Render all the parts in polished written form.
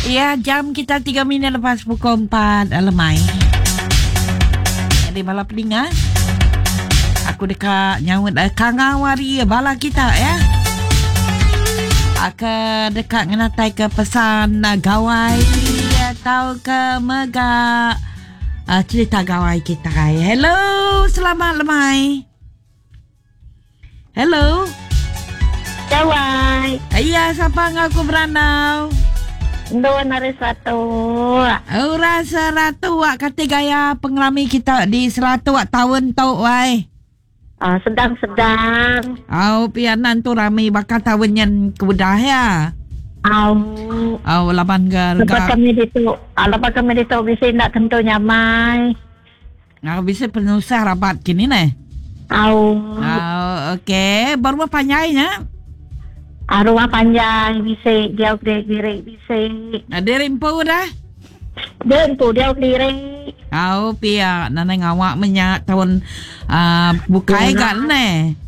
Ya, jam kita 3 minit lepas pukul 4 lemai. Jadi bala peninga, aku deka nyaut eh, kangau hari bala kita ya. Aku deka ngenatai ke pesan eh, gawai atau ke mega uh, cerita gawai kita. Hello, selamat lemai. Hello. Gawai. Iya, siapa enggau aku berandau? Endun ari Seratok. Orang Seratok kati gaya pengerami kita di Seratok taun tu wai. Ah, sedang-sedang. Au pianan tu rami baka taun nyen ke udah ya. Au. Au laban ke Lepas kami ditu, ah, lepas kami ditu bisi enda tentu nyamai. Au bisi penusah rabat kini neh. Au. Au okey, ba rumah panjai nya. Ah, rumah panjai bisi diau kediri bisi. Ah, diri empu dah. Diri empu diau kediri. Au pia nadai ngawa meh nya taun uh, bukai ga neh.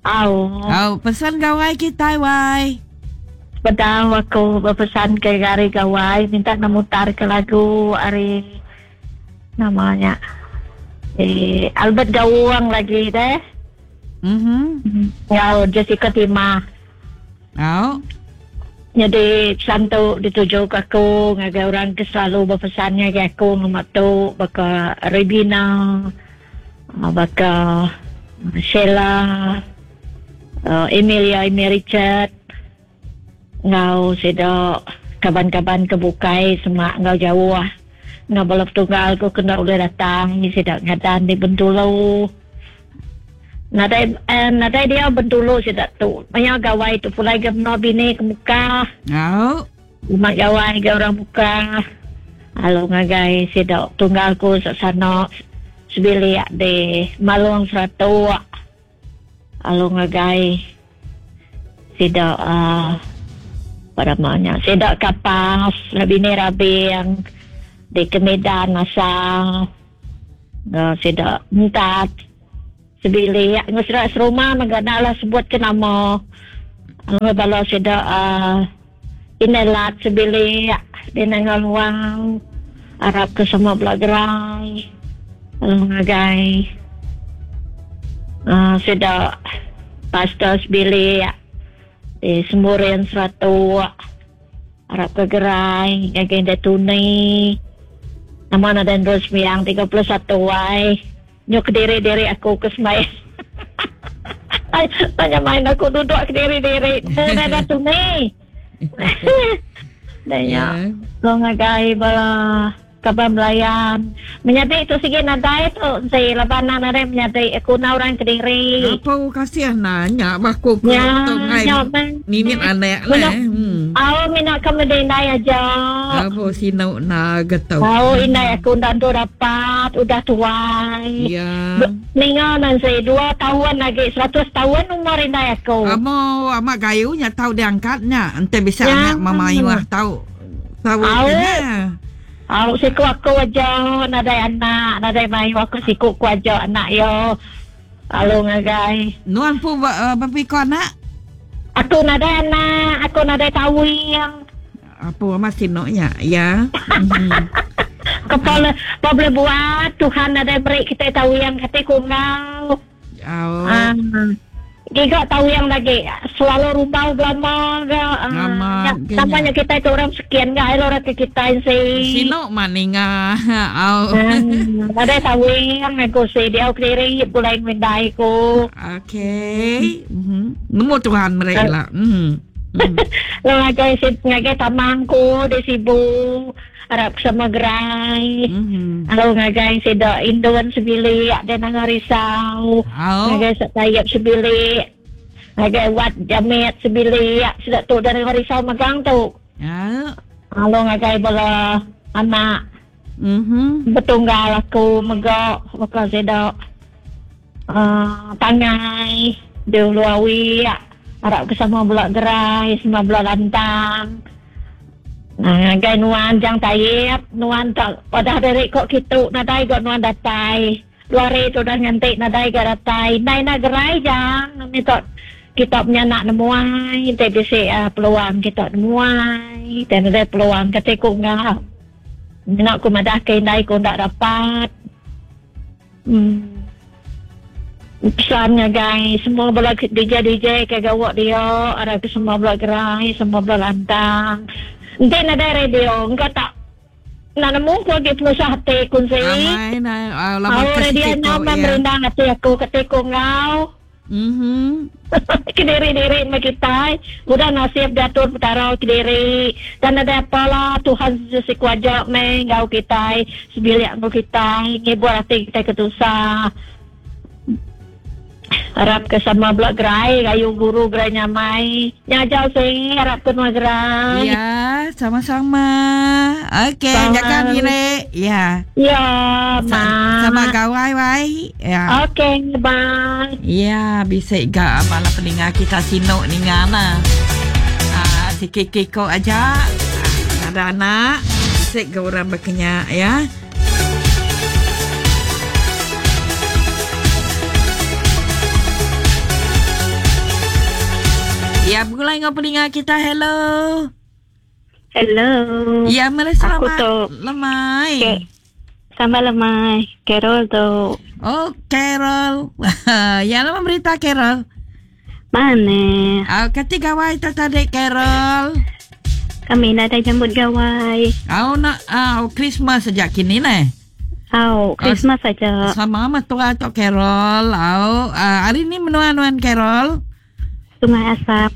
Au. Au pesan gawai kitai wai. Sebedau aku bepesan ke hari gawai minta nemutar ke lagu ari Nama nya eh Albert Gawang lagi deh. Mhm. Enggau Jessica Timah. Au. Nyadi pesan tu dituju ke aku ngagai orang ke selalu bepesan ngagai aku ngema tu baka Rebina, baka Sheila, Emilia Amy Richard enggau sida kaban-kaban ke bukai semak enggau jauh enggau bala petunggal ku ke enda ulih datang sida ngadan di Bentulu. Nadai eh, nadai diau Bentulu sida tu. Maya gawai tu pulai ga menua bini ke Mukah. Au. Umat gawai ga orang Mukah. Lalu ngagai sida tunggal ku sana sebilik di Malong Seratok. Lalu ngagai sida uh, apa nama nya sida kapas bini rabing di Kemidan asal enggau sida entat sebilik enggau sida serumah mega enda lah sebut ke nama enggau bala sida uh, indai lat sebilik di Nanga Luang arap ke semua bela gerai lalu ngagai uh, sida pastor sebilik di Semburin Seratok arap ke gerai ngagai indai Tuni nama nadai endur sembiang 31 ai nyu kediri-diri aku ke sembahyang Tanya main aku duduk kediri-diri nadai Tuni Dah nya. Ko ngagai bala kaban belayan. Menyadi tu sigi nadai tu enti laban nang nadai menyadi aku enda orang kediri. Apu kasih na nya baku ku tu ngai mimit anak neh. Hmm. Au mina ke meda indai aja. Apu sinu na getu. Au indai aku enda entu dapat udah tuai. Ya. Ninga Nancy dua taun agi 100 taun umur indai aku. Amo amat gayu nya tau diangkat nya enti bisi anak memayuh tau tau nya. Au siku aku aja nadai anak nadai mayuh aku siku ku aja anak iya lalu ngagai. Nuan pu bepiko anak? Aku nadai anak aku nadai tawing. Apu amat sinu nya ya. Kepala apa boleh buat Tuhan nadai beri kita tawing kati ku enggau. Oh. Ah. Giga tawing lagi selalu rumbau belama ga. Ah. Nama nya kita tu orang sekian ga elo orang ke kita si. Sinu mak ninga. Au. Ah, nadai tawing aku si dia kediri pulai ngindai ku. Okey. Mhm. Nemu Tuhan meri lah. Mhm. Ngagai ngagai tamang ku di Sibu arap sama gerai. Mm-hmm. Lalu ngagai sida Indon sebilik dan nanga risau. Oh. Ngagai Satayap sebilik. Ngagai Wat Jamit sebilik sida tu dan nanga risau megang tu. Ya. Lalu ngagai bala anak. Mm-hmm. Betunggal aku mega baka sida uh, Tangai di Ulu Awi arap ke sama bela gerai sama bela lantang. Nah, ngagai nuan Jang Taib, nuan tak padah diri kok kitu nadai ga nuan datai. Dua hari tu dah nganti nadai ga datai. Ndai na gerai Jang, ni tok. Kita menyanak nemuai enti bisi peluang kita nemuai enti nadai peluang kati ku enggau. Mina ku madah ke indai ku enda dapat. Uhh pesan ngagai semua bala DJ DJ ke gawa dia arap ke semua bala gerai semua bala lantang. Enti nadai radio engka tak enda nemu ku agi penusah ati ku enti. Amai nai laban ke siti tu iya. Merindang ati aku kati ku enggau. Mhm. Kediri-diri meh kitai udah nasib diatur Petara kediri dan nadai apa lah Tuhan siku aja meh enggau kitai sebilik enggau kitai ngibur ati kitai ke tusah. Arap ke sama bela gerai gayu guru gerai nyamai. Nya aja seh arap ke nuan gerai. Ya, sama-sama. Okey, jaga diri. Ya. Ya, ma. Sama gawai wai. Ya. Okey, bye. Ya, bisi ga bala peninga kita sinu ninga nah. Ah, sikit kiko aja. Ada anak, bisi ga orang berkenya ya. Ya, begulai enggau peninga kita. Hello. Hello. Ya, meri selamat lemai. Okay. Selamat lemai. Carol tu. Oh, Carol. ya, nama berita Carol? Mana? Oh, kati gawai tu tadi Carol. Kami nadai nyambut gawai. Oh, nak oh, Christmas saja kini neh. Oh, Christmas oh, saja. Sama mah tua tu Carol. Oh, hari ni menua nuan Carol. Sungai Asap.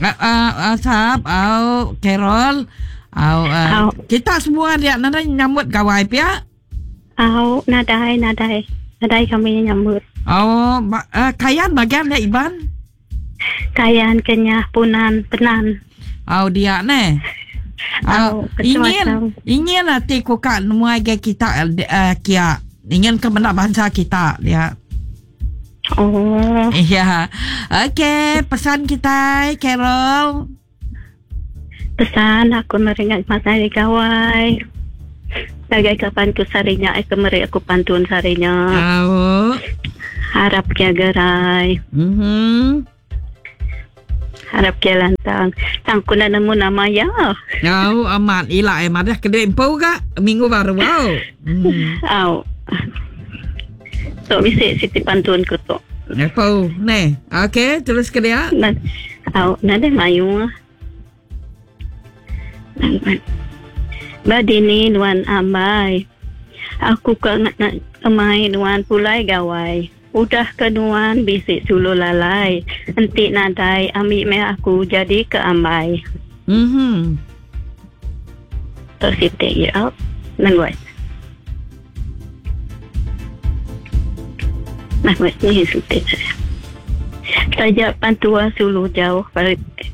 Asap, oh, Carol. Oh, oh. Kita semua dia nadai nyambut gawai pia. Au, nadai, nadai. Nadai kami nyambut. Oh, ba, uh, Kayan bagian dia Iban? Kayan Kenyah Punan Penan. Au dia ne. Au, ingin ingin ati ku ka nemuai gai kita uh, kia. Ingin ke meda bansa kita dia. Oh. Ya. Okey, pesan kita Carol. Pesan aku meri nya masa hari gawai. Ngagai kaban ku sehari nya ai ke meri aku pantun sehari nya. Au. Harap kia gerai. Mhm. Harap kia lantang. Tang ku enda nemu nama iya. Au amat ila ai madah ke diri empu ga minggu baru au. Hmm. Au. Tu bisi siti pantun ku tu. Empu neh. Okey terus ke dia. Au nadai mayuh. Ba dini nuan ambai. Aku ka ngemai nuan pulai gawai. Udah ke nuan bisi sulu lalai. Enti nadai ambi meh aku jadi ke ambai. Mhm. Tu siti iya. Nengoi. Nah, ni siti. Taja pan tua sulu jauh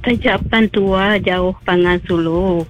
taja pan tua jauh pangan sulu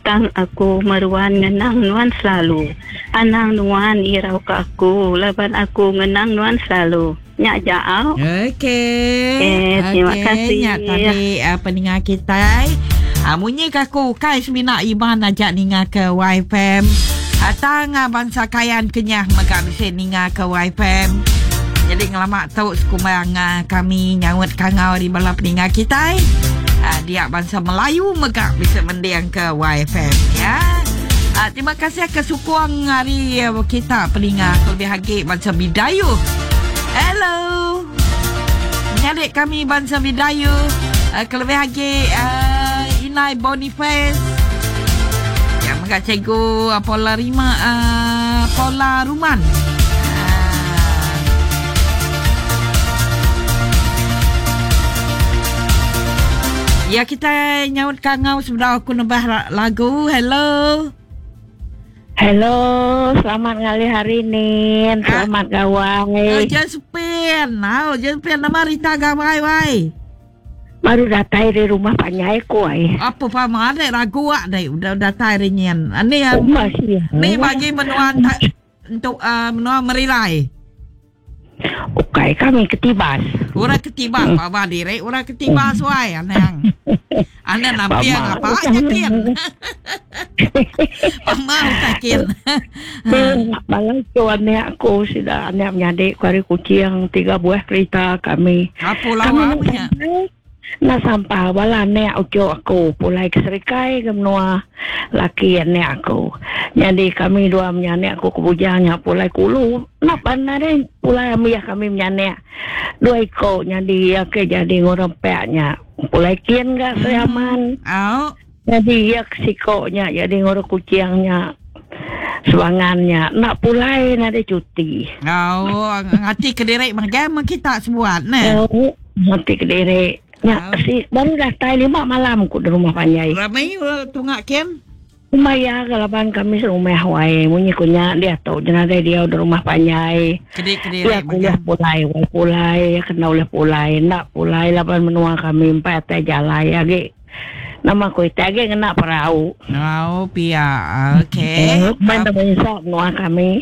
tang aku meruan ngenang nuan selalu. Anang nuan irau ke aku laban aku ngenang nuan selalu. Nya aja au. Okey. Okay, terima okay. kasih. Nya tadi uh, peninga kitai. Uh, munyi ke aku ukai semina Iban aja ninga ke YFM. Uh, tang uh, bangsa Kayan Kenyah mega bisi ninga ke YFM. Jadi ngelama tu sekumbang uh, kami nyaut kangau ari bala peninga kitai. Uh, dia bangsa Melayu mega bisi mending ke YFM ya. Uh, terima kasih ke sukung ari uh, kita peninga kelebih agi bangsa Bidayuh. Hello. Menyadi kami bansa Bidayuh uh, kelebih agi uh, Inai Boniface. Yang mega cikgu uh, Paula Rima uh, Paula Ruman. Ya kita nyaut kangau sebedau aku nebah lagu. Hello. Hello, selamat ngalih hari Nin. Ah. Selamat gawai. Oh, Josephine. Oh, Josephine nama Rita gawai wai. Baru datai dari rumah panjai ku ai. Apa faham ada ragu ak dai udah datai hari nyin. Ni oh, masih. Ni bagi menua untuk uh, menua Merilai. Ukai kami ketibas. Orang ketibas hmm. baba diri orang ketibas hmm. wai anang. Anang namping apa aja kin. Pama utai kin. Bala tu anak aku sida anak menyadi ku ari Kuching tiga buah kereta kami. Apu lawa punya. Enda sampal bala anak uchu aku pulai ke Serikai ke menua laki anak aku. Nyadi kami dua menyanak aku ke bujang nya pulai ke ulu. Enda pan nadai pulai ambih kami menyanak dua iko nyadi iya ke jadi ngurang pek nya pulai kin ga Sri Aman. Au. Nyadi iya ke siko nya jadi ngurang Kuching nya sebangan nya enda pulai nadai cuti. Au ngati kediri mega meh kita sebuat neh. Au ngati kediri. Nya si baru datai lima malam ku di rumah panjai. Rami tunga kin. Umbai iya ga laban kami serumah wai munyi ku nya diatu je nadai diau di rumah panjai. Kedi kediri Iya ku ulih pulai wai pulai iya kena ulih pulai enda pulai laban menua kami empai atai jalai agi. Nama ku itai agi ngena perau. Perau pia. Okey. Main dah merinsa menua kami.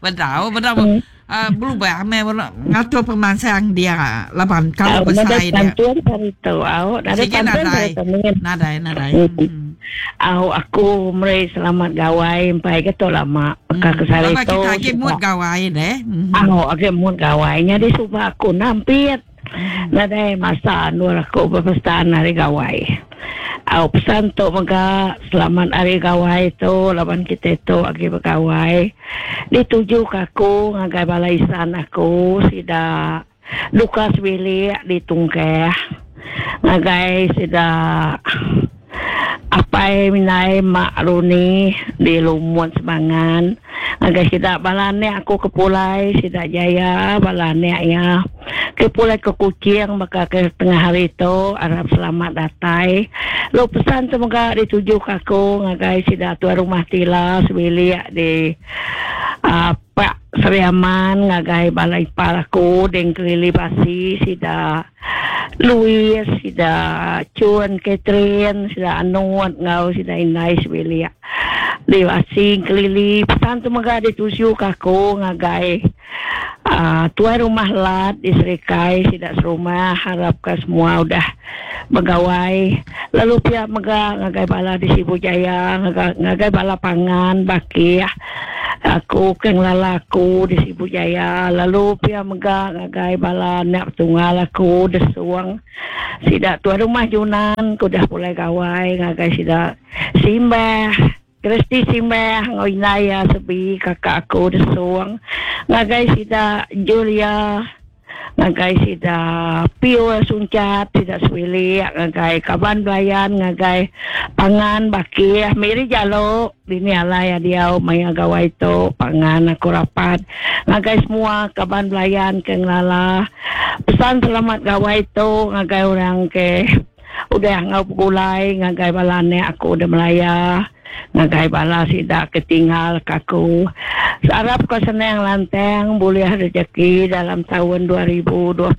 Bedau bedau uh, berubah meh ngatur pemansang dia laban kalau besai dia. Pantun hari tu au nadai pantun hari tu. Nadai nadai. Hmm. Au aku meri selamat gawai empai ke tu lama maka ke sehari tu. Kita agi mood gawai deh. Au agi mood gawai nyadi suba aku nampit. Nadai masa endur aku bepesan Hari Gawai. Au pesan tu mega selamat Hari Gawai tu laban kitai tu agi begawai dituju ka aku ngagai bala isan aku sida duka sebilik di Tungkeh ngagai sida Apai mindai mak Runi di Lumut Sebangan ngagai sida bala anak aku ke pulai sida Jaya bala anak iya ke pulai ke Kuching baka ke tengah hari tu arap selamat datai lalu pesan tu mega dituju ka aku ngagai sida tuai rumah Tila sebilik di uhh Pak Sri Aman ngagai bala ipar aku ding Kelili Basi sida. Louis, sida Chun, Catherine, sida Anut enggau sida indai sebilik. Di Asing, Kelili, pesan tu mega dituju ka aku ngagai uhh tuai rumah Lat di Serikai sida serumah arap ka semua udah begawai lalu pia mega ngagai bala di Sibu Jaya ngagai bala pangan bakih. Aku ke ngelala aku di Sibu Jaya lalu pia mega ngagai bala anak petunggal aku Desung. Sida tuai rumah Junan ke udah pulai gawai ngagai sida Simbah, Christy Simbah enggau indai iya Sebi kakak aku Desung ngagai sida Julia. Ngagai sida Piul Sunchat, sida sebilik, ngagai kaban belayan, ngagai pangan bakih Miri Jalo, dini alai diau maya gawai tu, pangan aku rapat, ngagai semua kaban belayan ke ngelala pesan selamat gawai tu ngagai orang ke udah enggau begulai ngagai bala anak aku da Melaya, ngagai bala sida ke tinggal ka aku. Arap ka senang lantang bulih rejeki dalam taun 2026.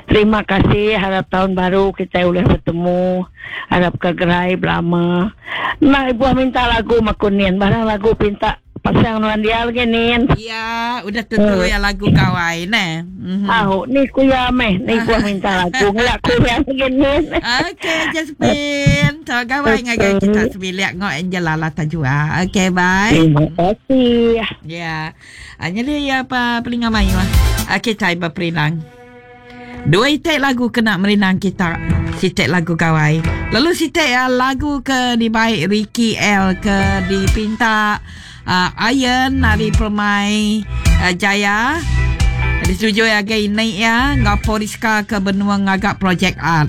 Terima kasih arap taun baru kitai ulih betemu. Arap ka gerai belama. Enda ibuh minta lagu maku nin barang lagu pinta Pasang nuan dia lagi nin. Ya, udah tentu ya lagu gawai neh. Au, ni ku iya meh, ni ku minta lagu ngela ku iya lagi nin. Okey, Jasmine. So, gawai ngagai kita sebilik ngau Angela lah tajua. Okey, bye. Terima kasih. Ya. Ah, jadi ya apa pelinga mayuh. Okey, cai berperinang. Dua iti lagu kena merindang kita. Siti lagu gawai. Lalu siti uh, lagu ke dibai Ricky L ke dipinta uh, Iron ari Permai uh, Jaya. Disetujui agai ini ya enggau Poriska ke benua ngaga projek art.